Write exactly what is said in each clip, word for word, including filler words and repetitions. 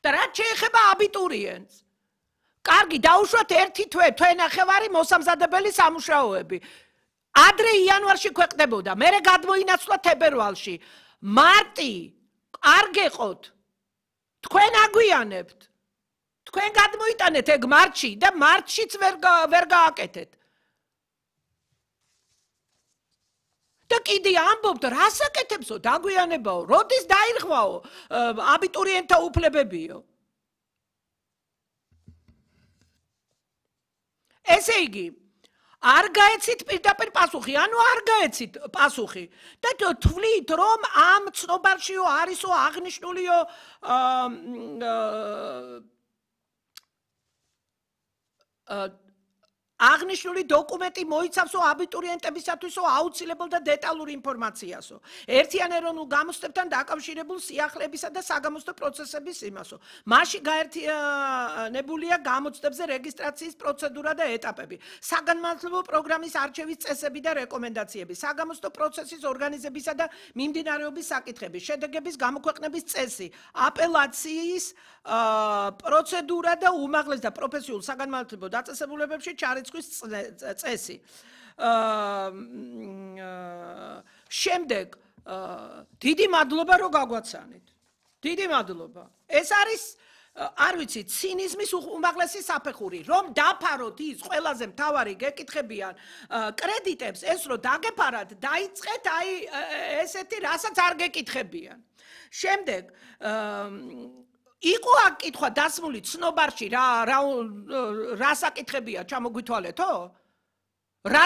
და რაც შეეხება აბიტურიენტს. კარგი, დაუშვათ ერთი თვე, თვენახევარი მოსამზადებელი სამუშაოები. ადრე იანვარში ქვეყნდებოდა, მერე გადმოინაცვლა თებერვალში. მარტი არ გეყოთ. თქვენ აგვიანებთ. თქვენ გადმოიტანეთ ეგ მარტში და მარტშიც ვერ ვერ გააკეთეთ. და კიდე ამბობთ, რას აკეთებსო, დაგვიანებაო, როდის დაირღვაო აბიტურიენტთა უფლებებიო. ესე იგი, არ გაეცით პირდაპირ პასუხი, ანუ არ გაეცით პასუხი. და თვლით, რომ ამ ცნობარშიო არისო აღნიშნულიო აღნიშნული დოკუმენტი მოიცავსო აბიტურიენტებისათვისო აუცილებელ და დეტალურ ინფორმაციასო. ერთიან ეროვნულ გამოცდებთან დაკავშირებულ სიახლეებისა და საგამოცდო პროცესების იმასო. მასში გაერთიანებულია გამოცდებზე რეგისტრაციის პროცედურა და ეტაპები, საგანმანათლებლო პროგრამის არჩევის წესები და რეკომენდაციები, საგამოცდო პროცესის ორგანიზებისა და მიმდინარეობის საკითხები, შედეგების გამოქვეყნების წესი, აპელაციის პროცედურა და უმაღლეს და პროფესიულ საგანმანათლებლო დაწესებულებებში ჩარიცხვის წესი. შემდეგ დიდი მადლობა რომ გაგვაცანით. დიდი მადლობა. ეს არის არ ვიცი, ცინიზმის უმაღლესი საფეხური, რომ დაფაროთ ის ყველაზე მთავარი გეკითხებიან კრედიტებს, ეს რომ დაგეფარათ, დაიწყეთ აი ესეთი, რასაც არ გეკითხებიან. შემდეგ იყო აქ კითხვა დასმული ცნობარში რა რა საკითხებია ჩამოგვითვალეთო? რა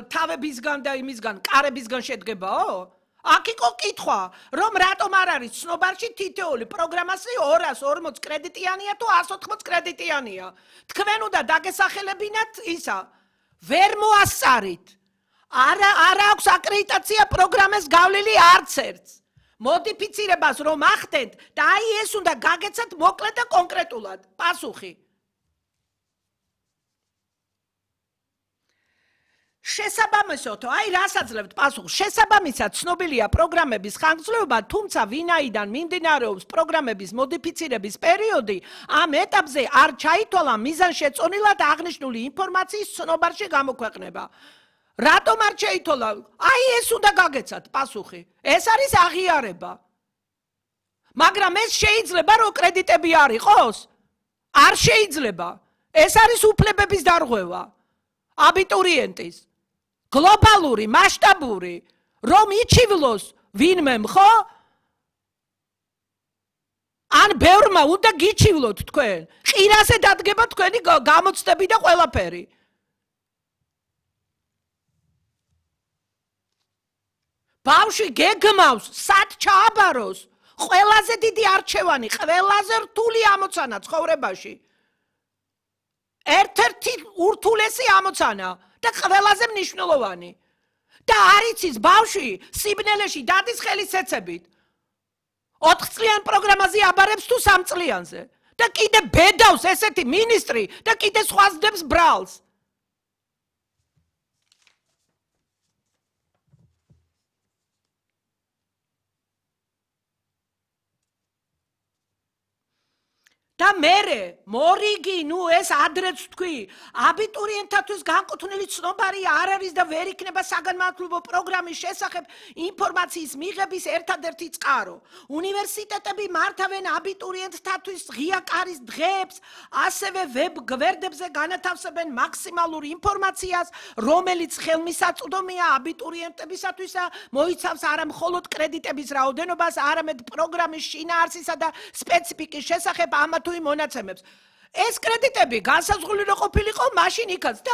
თავებისგან და იმისგან, კარებისგან შედგებაო? აქ იყო კითხვა, რომ რატომ არ არის ცნობარში თითოეული პროგრამასი ორას ორმოც კრედიტიანია თუ არას ოთხმოც კრედიტიანია. თქვენ უნდა დაგესახელებინათ ისა, ვერ მოასწარით. არა არ აქვს აკრედიტაცია პროგრამას გავლილი არც ერთს. მოდიფიცირებას რომ ახდენთ და აი ეს უნდა გაგეცათ მოკლედ და კონკრეტულად. პასუხი. შესაბამისად, აი რას აძლევთ პასუხს? შესაბამისად, ცნობილია პროგრამების ხანგრძლივობა, თუმცა ვინაიდან მიმდინარეობს პროგრამების მოდიფიცირების პერიოდი, ამ ეტაპზე არ ჩაითვალა მიზანშეწონილად აღნიშნული ინფორმაციის ცნობარში გამოქვეყნება. რატომ არ შეითვალა? აი ეს უნდა გაგეცათ პასუხი. ეს არის აღიარება. მაგრამ ეს შეიძლება რომ კრედიტები არ იყოს? არ შეიძლება. ეს არის უფლებების დარღვევა აბიტურიენტის. გლობალური, მასშტაბური, რომ იჩივლოს ვინმემ, ხო? ან ბევრმა უნდა გიჩივლოთ თქვენ. ყირაზე დადგება თქვენი გამოცდები და ყველაფერი. ბავშვი გეგმავს, სად ჩააბაროს, ყველაზე დიდი არჩევანი, ყველაზე რთული ამოცანა ცხოვრებაში. ერთ-ერთი ურთულესი ამოცანა და ყველაზე მნიშვნელოვანი. და არ იცის ბავშვი სიბნელეში დადის ხელისეცებით. ოთხ წლიან პროგრამაზე აბარებს თუ სამ წლიანზე. და კიდე ბედავს ესეთი მინისტრი და კიდე სხვაზდებს ბრალს. და მერე მორიგი, ნუ ეს ადრეც თქვი, აბიტურიენტთათვის განკუთვნილი ცნობარი არ არის და ვერ იქნება საგანმანათლებლო პროგრამის შესახებ ინფორმაციის მიღების ერთადერთი წყარო. უნივერსიტეტები მართავენ აბიტურიენტთათვის ღია კარის დღეებს, ასევე ვებ გვერდებზე განათავსებენ მაქსიმალურ ინფორმაციას, რომელიც ხელმისაწვდომია აბიტურიენტებისათვისა, მოიცავს არა მხოლოდ კრედიტების რაოდენობას, არამედ პროგრამის შინაარსისა და სპეციფიკის შესახებ ამა თუ იმ მონაცემებს. ეს კრედიტები განსაზღვრული რო ყოფილიყო მაშინ იქაც და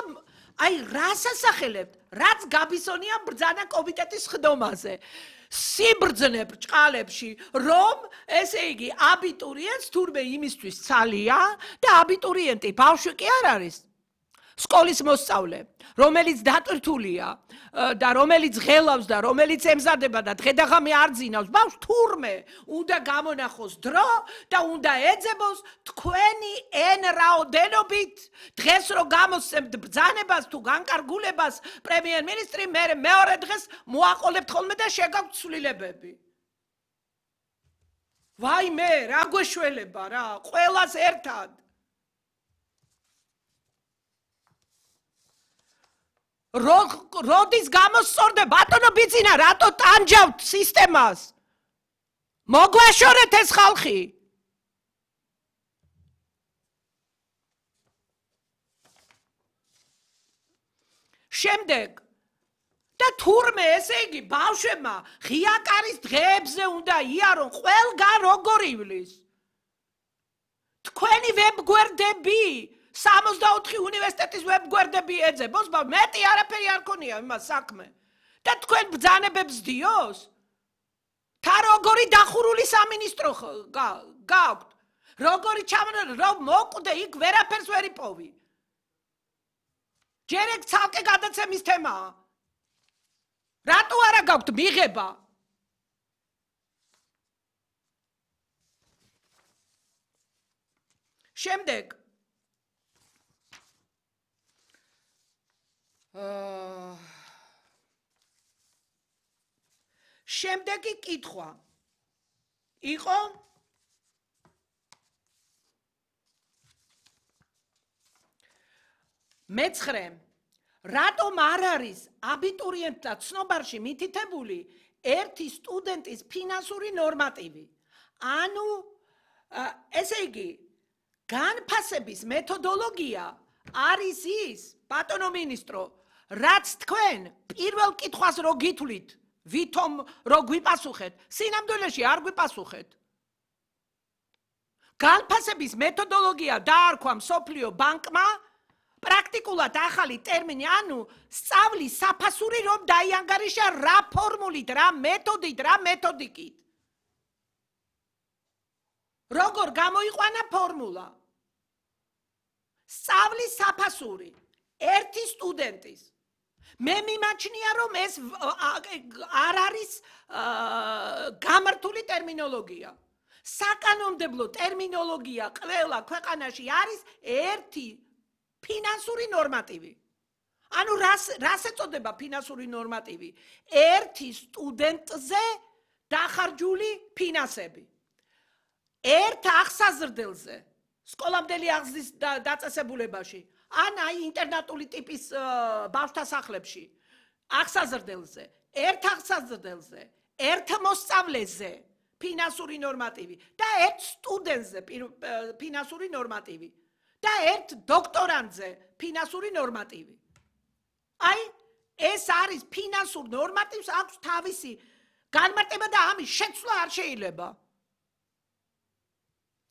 აი რას ასახელებთ? რაც გაბისონია ბრძანა კომიტეტის ხდომაზე. სიბრძნე ბრჭყალებში, რომ ესე იგი აბიტურიენტს თურმე იმისთვის ცალია და აბიტურიენტი ბავშვი კი არ არის. სკოლის მოსწავლე, რომელიც დატვირთულია და რომელიც ღელავს და რომელიც ემზადება და დღედაღამე არ ძინავს, ბავშვს თურმე უნდა გამონახოს დრო და უნდა ეძებოს თქვენი n რაოდენობით. დღეს რო გამოსცემთ ბრძანებას თუ განკარგულებას პრემიერ-მინისტრი, მე მეორე დღეს მოაყოლებთ ხოლმე და შეგაქვთ ცვლილებები. ვაიმე, რა გვეშველება რა, ყველას ერთად. როდის გამოსწორდა ბატონო ბიძინა, რატო ტანჯავთ სისტემას? მოგვაშორეთ ეს ხალხი. შემდეგ და თურმე ესე იგი ბავშვებმა ღია კარის დღეებზე უნდა იარონ ყველგან როგორ ივლის. თქვენი ვებგვერდები სამოცდაოთხი უნივერსიტეტის ვებგვერდები ეძებოს, მეტი არაფერი არ ქონია იმას საქმე. და თქვენ ბრძანებებს დიოს? თა როგორი დახურული სამინისტრო გაქვთ? როგორი ჩამონა რომ მოკვდე იქ ვერაფერს ვერ იპოვი. ჯერ ეგ ცალკე გადაცემის თემაა. რატო არა გაქვთ მიღება? შემდეგ აა შემდეგი კითხვა იყო მეცხრე რატომ არ არის აბიტურიენტთა ცნობარში მითითებული ერთი სტუდენტის ფინანსური ნორმატივი? ანუ ესე იგი განფასების მეთოდოლოგია არის ის, ბატონო მინისტრო, რაც თქვენ პირველ კითხვას რო გითვლით, ვითომ რო გვიპასუხეთ, სინამდვილეში არ გვიპასუხეთ. განფასების მეთოდოლოგია დაარქვა მსოფლიო ბანკმა პრაქტიკულად ახალი ტერმინი, ანუ სწავლის საფასური რომ დაიანგარიშა რა ფორმულით, რა მეთოდით, რა მეთოდიკით. როგორ გამოიყვანა ფორმულა? სწავლის საფასური ერთი სტუდენტის. მე მიმაჩნია რომ ეს არ არის გამართული ტერმინოლოგია. საკანონმდებლო ტერმინოლოგია ყველა ქვეყანაში არის ერთი ფინანსური ნორმატივი. ანუ რას რას ეწოდება ფინანსური ნორმატივი? ერთი სტუდენტზე დახარჯული ფინანსები. ერთ აღსაზრდელზე სკოლამდელი აღზრდის დაწესებულებაში, ან აი ინტერნატული ტიპის ბავშვთა სახლებში, აღსაზრდელზე, ერთ აღსაზრდელზე, ერთ მოსწავლეზე ფინანსური ნორმატივი და ერთ სტუდენტზე ფინანსური ნორმატივი. და ერთ დოქტორანტზე ფინანსური ნორმატივი. აი, ეს არის ფინანსურ ნორმატივს აქვს თავისი განმარტება და ამის შეცვლა არ შეიძლება.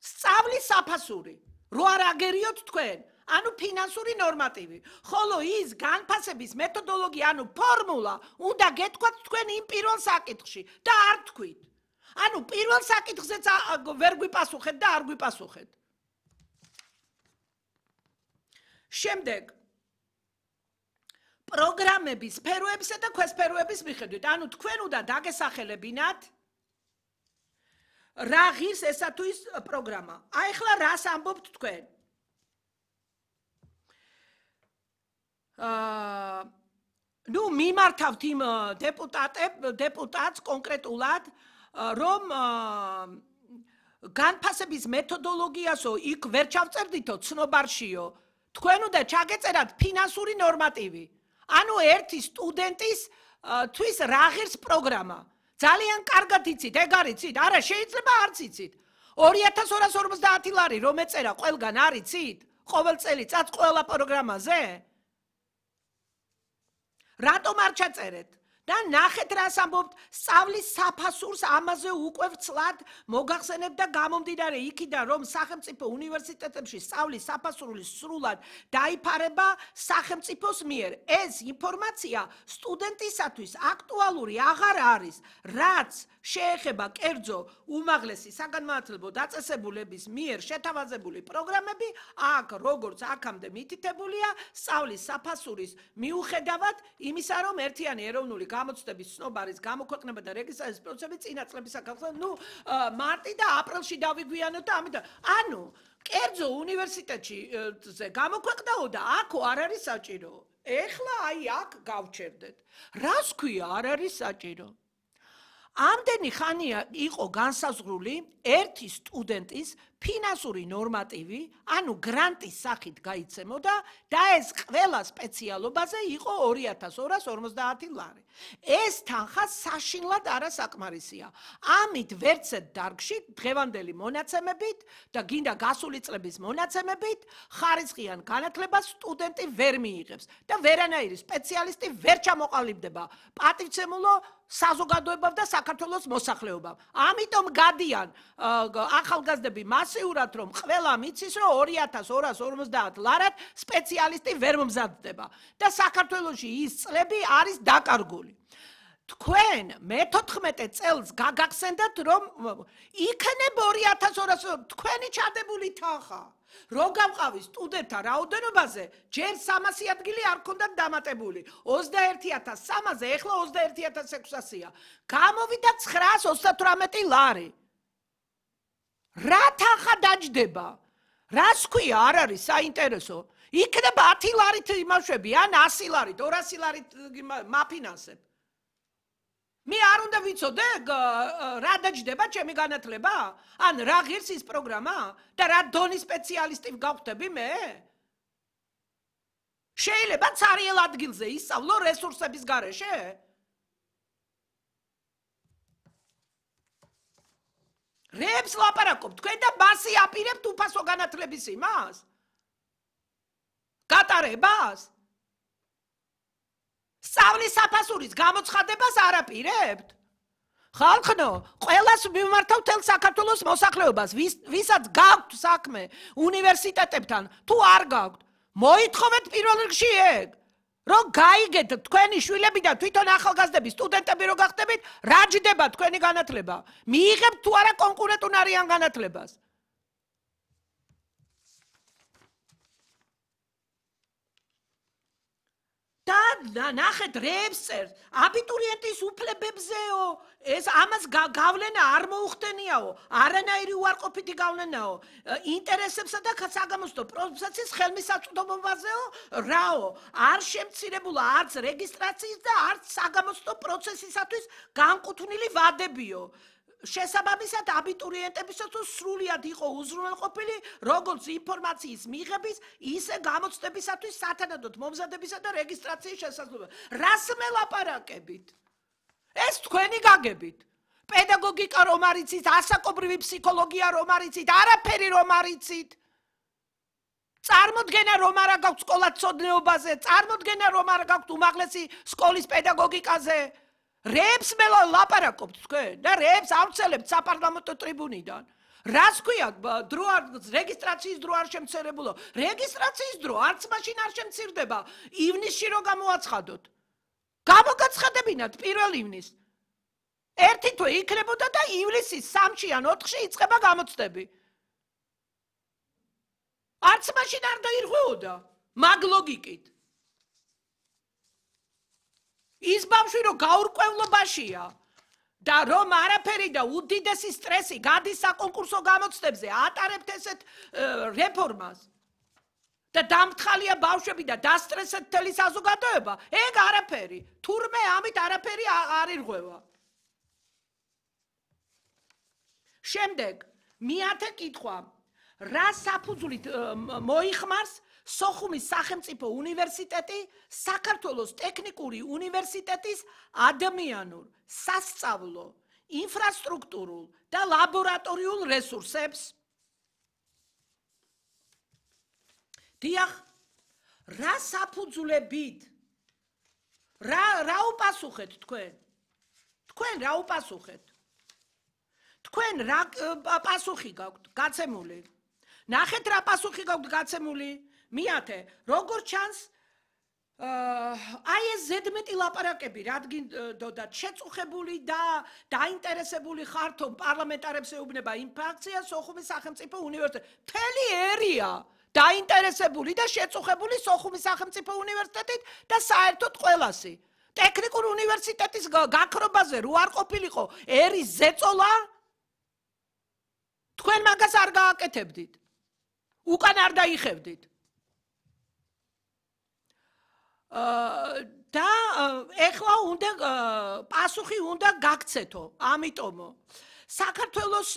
სწავლის საფასური, რო არ აგერიოთ თქვენ, ანუ ფინანსური ნორმატივი, ხოლო ის განფასების მეთოდოლოგია, ანუ ფორმულა, უნდა გეთქვათ თქვენ იმ პირველ საკითხში და არ თქვით. ანუ პირველ საკითხზეც ვერ გვიპასუხეთ და არ გვიპასუხეთ. შემდეგ პროგრამების სფეროებისა და ქვესფეროების მიხედვით, ანუ თქვენ უნდა დაგესახელებინათ რა ღირს ესა თუ ის პროგრამა. აი ახლა რას ამბობთ თქვენ? აა ნუ მიმართავთ იმ დეპუტატებს, დეპუტატს კონკრეტულად, რომ განფასების მეთოდოლოგიასო იქ ვერ ჩავწერდითო ცნობარშიო. თქვენ უნდა ჩაგეწერათ ფინანსური ნორმატივი. ანუ ერთი სტუდენტის თვის რა ღირს პროგრამა. ძალიან კარგად იცით, ეგ არ იცით? არა, შეიძლება არც იცით. ორი ათას ორას ორმოცდაათი ლარი რომ ეწერა ყველგან არ იცით? ყოველ წელიწად ყველა პროგრამაზე? რატომ არ ჩაწერეთ? და ნახეთ რას ამბობთ, სწავლის საფასურს ამაზე უკვე ვცლად მოგახსენებთ და გამომდინარე იქიდან რომ სახელმწიფო უნივერსიტეტებში სწავლის საფასური სრულად დაიფარება სახელმწიფოს მიერ. ეს ინფორმაცია სტუდენტისათვის აქტუალური აღარ არის, რაც შეეხება კერძო უმაღლესი საგანმანათლებლო დაწესებულების მიერ შეთავაზებული პროგრამები, აქ როგორც აქამდე მითითებულია, სწავლის საფასურის მიუხედავად იმისა, რომ ერთიანი ეროვნული გამოცდების ცნობარის გამოქვეყნება და რეგისტრაციის პროცესები წინა წლების საკითხად, ნუ მარტი და აპრილში დავიგვიანოთ და ამიტომ, ანუ კერძო უნივერსიტეტში გამოქვეყნაო და აქ არ არის საჭირო. ეხლა აი აქ გავჩერდეთ. რას ქვია არ არის საჭირო? ამდენი ხანია იყო განსაზღვრული ერთი სტუდენტის ფინანსური ნორმატივი, ანუ გრანტის სახით გაიცემოდა და ეს ყველა სპეციალობაზე იყო ორი ათას ორას ორმოცდაათი ლარი. ეს თანხა საშინლად არასაკმარისია. ამით ვერცერთ დარგში დღევანდელი მონაცემებით და გინდა გასული წლების მონაცემებით ხარისხიან განათლებას სტუდენტი ვერ მიიღებს და ვერანაირი სპეციალისტი ვერ ჩამოყალიბდება პატივცემულო საზოგადოებამ და საქართველოს მოსახლეობამ. ამიტომ გადიან ახალგაზრდები მასიურად, რომ ყველა მიცის, რომ ორი ათას ორას ორმოცდაათ ლარად სპეციალისტი ვერ მომზადდება და საქართველოში ის წლები არის დაკარგული. თქვენ მეთოთხმეტე წელს გაგახსენდათ, რომ იქნებ ორი ათას ორას თქვენი ჩადებული თანხა. რო გავყავი სტუდენტთა რაოდენობაზე, ჯერ სამასი ადგილი არ ქონდათ დამატებული. ოცდაერთი ათას სამასზე, ეხლა ოცდაერთი ათას ექვსასია. გამოვიდა ცხრაას ოცდათვრამეტი ლარი. რა თანხა დაჯდება? რას ქვია არ არის საინტერესო? იქნება ათი ლარით იმაშვები, ან ასი ლარით, ორასი ლარით მაფინანსებ. მე არ უნდა ვიცოდე რა დაჯდება ჩემი განათლება? ან რა ღირს ის პროგრამა? და რა დონის სპეციალისტი გავხდები მე? შეიძლება ცარიელ ადგილზე ისწავლო რესურსების გარეშე? რებს ლაპარაკობ, თქვენ და მასი აპირებთ უფასო განათლების იმას? გატარებას? სწავლის საფასურის გამოცხადებას არ აპირებთ? ხალხნო, ყველას მიმართავ თელ საქართველოს მოსახლეობას, ვისაც გაქვთ საქმე უნივერსიტეტებთან, თუ არ გაქვთ, მოითხოვეთ პირველ რიგში ეგ, რომ გაიგეთ თქვენი შვილები და თვითონ ახალგაზრდები, სტუდენტები რო გახდებით, რა ჯდება თქვენი განათლება? მიიღებთ თუ არა კონკურენტუნარიან განათლებას? და ნახეთ რებს წერს, აბიტურიენტის უფლებებზეო, ეს ამას გავლენა არ მოუხდენიაო, არანაირი უარყოფითი გავლენაო, ინტერესებსა და საგამოსდო პროცესის ხელმისაწვდომობაზეო, რაო, არ შემცირებულა არც რეგისტრაციის და არც საგამოსდო პროცესისათვის განკუთვნილი ვადებიო. შესაბამისად აბიტურიენტებისაც სრულიად იყო უზრუნველყოფილი როგორც ინფორმაციის მიღების, ისე გამოცდებისათვის სათანადოდ მომზადებისა და რეგისტრაციის შესაძლებლობა. რას მელაპარაკებით? ეს თქვენი გაგებით. პედაგოგიკა რომ არიცით, ასაკობრივი ფსიქოლოგია რომ არიცით, არაფერი რომ არიცით. წარმოდგენა რომ არა გაქვთ სკოლათმცოდნეობაზე, წარმოდგენა რომ არა გაქვთ უმაღლესი სკოლის პედაგოგიკაზე. რებს მე ლაპარაკობთ თქვენ და რებს ავცელებთ საპარლამენტო ტრიბუნიდან. რას ქვია დრო რეგისტრაციის დრო არ შემცირებულო? რეგისტრაციის დრო არც მაშინ არ შემცირდება ივნისში რო გამოაცხადოთ. გამოგაცხადებინათ პირველ ივნისს. ერთი თვე იქნებოდა და ივლისის სამში ან ოთხში იწყება გამოცდები. არც მაშინ არ დაირღვეოდა მაგ ლოგიკით. ის ბავშვი რომ გაურკვევლობაშია და რომ არაფერი და უდიდესი სტრესი გადის საკონკურსო გამოცდებზე, ატარებთ ესეთ რეფორმას და დამთხალია ბავშვები და დასტრესეთ მთელი საზოგადოება, ეგ არაფერი. თურმე ამით არაფერი არ ირღვევა. შემდეგ, მეათე კითხვა. რა საფუძვლით მოიხმარს სოხუმის სახელმწიფო უნივერსიტეტი საქართველოს ტექნიკური უნივერსიტეტის ადამიანურ, სასწავლო, ინფრასტრუქტურულ და ლაბორატორიულ რესურსებს? დიახ, რა საფუძვლებით? რა რა უპასუხეთ თქვენ? თქვენ რა უპასუხეთ? თქვენ რა პასუხი გაქვთ გაცემული? ნახეთ რა პასუხი გაქვთ გაცემული? მეათე, როგორ ჩანს აი ეს ზედმეტი ლაპარაკები, რადგან შეწუხებული და დაინტერესებული ხართ, რომ პარლამენტარებს ეუბნება ინფრაქცია სოხუმის სახელმწიფო უნივერსიტეტი. მთელი ერია დაინტერესებული და შეწუხებული სოხუმის სახელმწიფო უნივერსიტეტით და საერთოდ ყველასი. ტექნიკურ უნივერსიტეტის გაქრობაზე რო არ ყოფილიყო ერის ზეწოლა, თქვენ მაგას არ გააკეთებდით. უკან არ დაიხევდით. და ეხლა უნდა პასუხი უნდა გაქცეთო, ამიტომ საქართველოს